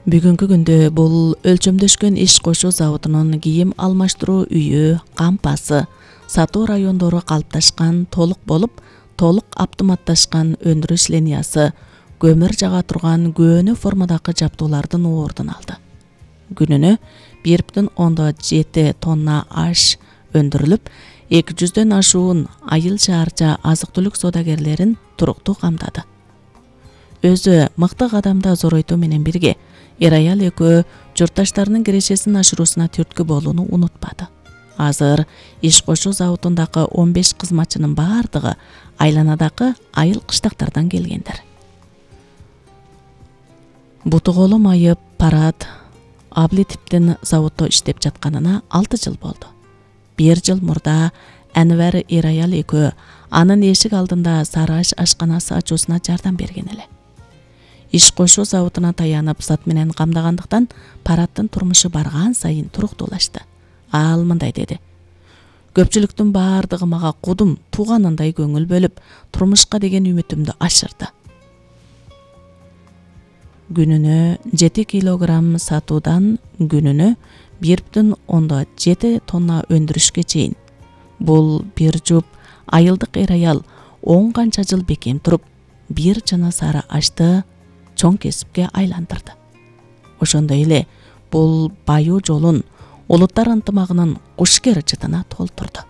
Бүгүнкү күндө бул өлчөмдөшкөн иш кошуу заводунун кийим алмаштыруу үйү, кампасы, сатуу райондору калыпташкан толук болуп, толук автоматташкан өндүрүш линиясы, көмүр жага турган көөнө формадагы жабдуулардын ордун алды. Күнүнө 1,7 тонна аш өндүрүлүп, 200дөн ашуун айыл шаарча азык-түлүк соодагерлерин туруктуу камдады. Өзү мыкты кадамда Зоройтуу менен бирге Эраял экөө журтташтарынын кирешесин ашыруусуна түрткү болууну унутпады. Азыр иш кошуу заводундагы 15 кызматчынын баардыгы айланадагы айыл кыштактардан келгендер. Буту колу майып Парат Аблетиптин заводдо иштеп жатканына 6 жыл болду. 1 жыл мурда Анвар Эраял экөө анын эшик алдында сары аш ашканасы ачуусуна жардам берген эле. Иш кошуу заводуна таянып зат менен камдагандыктан Параттын турмушу барган сайын туруктуулашты. Ал мындай деди: "Көпчүлүктүн баардыгы мага кудум тууганындай көңүл бөлүп, турмушка деген үмүтүмдү ашырды. Күнүнө 7 килограмм сатуудан күнүнө 1,7 тонна өндүрүшкө чейин. Бул бир жуп айылдык эр-аял 10 канча жыл бекем туруп, бир жана сары ашты чоң кесипке айландырды. Ошондой эле бул баюу жолун улуттар ынтымагынын кушкер жытына толтурду.